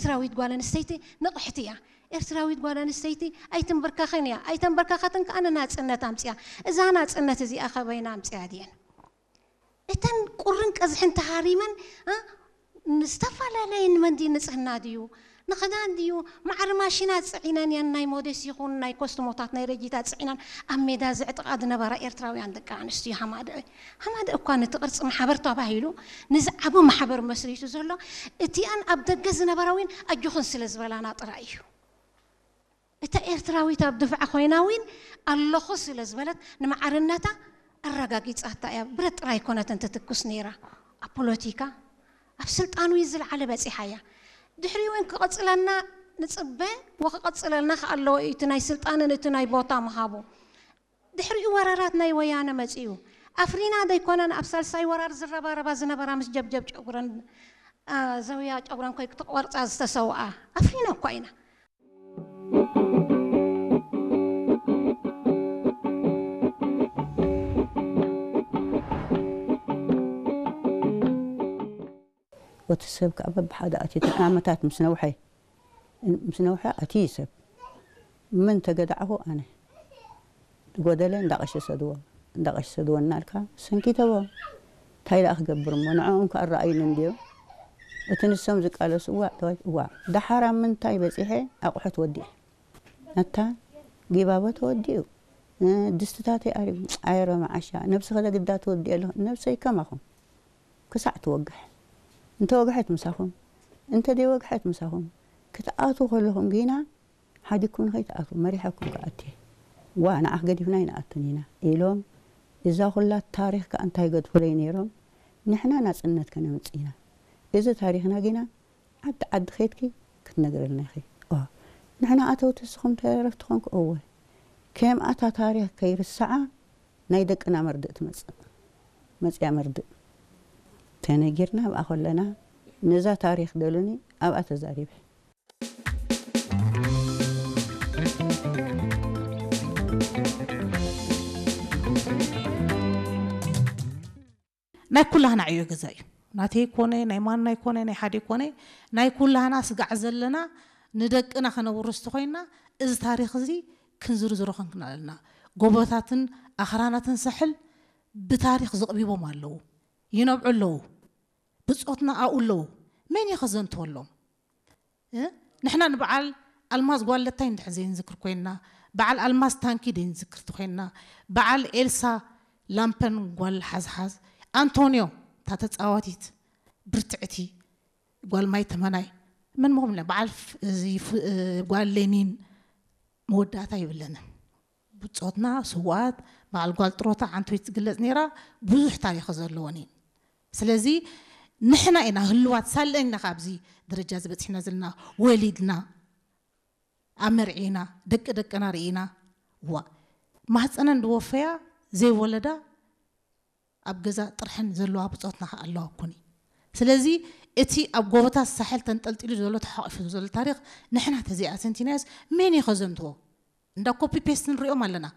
ኤርትራዊት ጓል ኣንስተይቲ ንቕሕቲ እያ። ኤርትራዊት ጓል ኣንስተይቲ ኣይትንብርከኽን እያ። ኣይተንበርከኸትን ከኣ ንናጽነት ኣምጽያ። እዛ ናጽነት እዚኣ ከበይና ኣምጽያ ድየን? እተን ቁርን ቀዝሕን ተሃሪመን፣ እ፣ ንዝተፈላለየ ንመንዲ ንጽህና ድዩ፣ ንኽዳን ድዩ፣ ማዕረ ማሽናት ጽዒነን እየን፣ ናይ ሞዴስ ይኹን ናይ ኮስትሞታት፣ ናይ ረጂታት ጽዒነን ኣብ ሜዳ ዝዕጥቓ ዝነበራ ኤርትራውያን ደቂ ኣንስትዮ ሃማደኤ። ሃማደኤ እኳ ነቲ ቅርጺ ማሕበር ተባሂሉ ንዝዓቢ ማሕበር መስሪቱ ዘሎ፣ እቲኣን ኣብ ደገ ዝነበራ እውን ኣጆኽን ስለ ዝበላና ጥራይ እዩ። እታ ኤርትራዊት ኣብ ድፍዓ ኮይና እውን ኣለኹ ስለ ዝበለት ንማዕርነታ ኣረጋጊጻታ እያ። ብረት ጥራይ ኣይኮነትን ትትኩስ ነይራ። ኣብ ፖለቲካ፣ ኣብ ስልጣን እውን ዝለዓለ በጺሓ እያ። ድሕሪኡ እውን ክቕጽለና ንጽበ ወክቐጽለልና ከኣ ኣለዎ እዩ እቲ ናይ ስልጣንን እቲ ናይ ቦታ ምሃቡ። ድሕሪኡ ወራራት ናይ ወያነ መጺኡ። ኣፍሪና ደይኮነን ኣብ ሳልሳይ ወራር ዝረባረባ ዝነበራ ምስ ጀብጀብ ጨጉረን፣ አ፣ ዘውያ ጨጉረን ኮይ ክትቆርጻ ዝተሰውኣ። ኣፍሪና እኳ ኢና። ወቲ ሰብ ከኣ በብሓደ ኣትዩ ዓመታት ምስ ነውሐ፣ ምስ ነውሐ ኣትዩ ሰብ። ምን ተገዳዕኹ ኣነ። ዝጎደለ እንዳቐሸ ሰድዎ፣ እንዳቐሸ ሰድዎ እናልካ ሰንኪተዎ። እንታይ ደኣ ክገብር እሞ ንዕኦም ከኣ ኣረኣዩኒ እንድዮም። እቲ ንሶም ዝቃለሱ እዋዕ፣ ተዋይ፣ እዋዕ። ደሓር ኣብ ምንታይ በጺሐ ኣቑሑ ተወዲኤ። ነታ ጊባቦ ተወዲኡ። እ፣ ድስትታተይ ኣሪጉ። ኣየረ መዓሻ፣ ነብስኺ ዶ ግዳ ትወዲኤ ኣለኹ። ነብሰይ ከማኹም ክሳዕ ትወግሕ። እንተ ወግሐት ምሳኹም፣ እንተ ደይወግሐት ምሳኹም። ክትኣትዉ ከለኹም ግና ሓዲግኩም ንኸይትኣትዉ፣ መሪሐኩም ክኣቲ። ዋ፣ ንዓኽ ገዲፍና ኣይንኣቱን ኢና ኢሎም። እዛ ኩላ ታሪኽ ከኣ እንታይ ገድፉለይ ነይሮም? ንሕና ናጽነት ከነምጽእ ኢና። እዚ ታሪኽና ግና ዓዲ ዓዲ ኸይድኪ ክትነግረልና ኢኺ። ኦ፣ ንሕና ኣተውቲ ንስኹም ተረፍቲ ኾንኩ። እወ፣ ከምኣ እታ ታሪኽ ከይርስዓ ናይ ደቅና መርድእ ትመጽእ። መጽያ መርድእ ተነጊርና ኣብኣ ከለና ነዛ ታሪኽ ደሉኒ ኣብኣ ተዛሪበ። ናይ ኩላህና ዕዮ ገዛ እዩ። ናተይ ኮነ፣ ናይ ማናይ ኮነ፣ ናይ ሓደ ኮነ፣ ናይ ኩላህና ስጋዕ ዘለና ንደቅና ከነውርስ ተኾይንና፣ እዚ ታሪኽ እዚ ክንዝርዝሮ ክንክን ኣለና። ጎቦታትን ኣኽራናትን ሳሕል ብታሪኽ ዝቕቢቦም ኣለዉ። ይነብዑ ኣለዉ። ብጾትና ኣብኡ ኣለዉ። መን እዩ ከዘንትወሎም? እ? ንሕና ንበዓል ኣልማዝ ጓል ለታይ እንድሕር ዘይንዝክር ኮይንና፣ በዓል ኣልማዝ ታንኪ ዘይንዝክር ተኮይንና፣ በዓል ኤልሳ ላምፐን ጓል ሓዝሓዝ፣ ኣንቶንዮ እታ ተጻዋቲት ብርትዕቲ ጓል ማይ ተመናይ፣ መን ምኹም ኢልና፣ በዓል ፍ-፣ እዚ ፍ-፣ እ፣ ጓል ሌኒን መወዳእታ ይብለንን። ብጾትና ስውኣት፣ በዓል ጓል ጥሮታ ዓንቶይ ትግለጽ ነይራ፣ ብዙሕ ታሪኽ ዘለወን እየን። ስለዚ ንሕና ኢና ህልዋት ሳለን ኢና ካብዚ ደረጃ ዝበጽሕና ዘለና። ወሊድና፣ ኣመርዒና፣ ደቂ ደቅና ርኢና። ዋ፣ ማህፀነን ዝወፈያ ዘይወለዳ ኣብ ገዛ ጥርሐን ዘለዋ ብጾትና ከኣ ኣለዋ እኮኒ። ስለዚ እቲ ኣብ ጎቦታት ሳሕል ተንጠልጢሉ ዘሎ ተሓቂፉ ዘሎ ታሪኽ ንሕና ተዘይኣሰንቲናዮስ መን እዩ ከዘንትዎ? እንዳ ኮፒ ፔስት ንሪኦም ኣለና።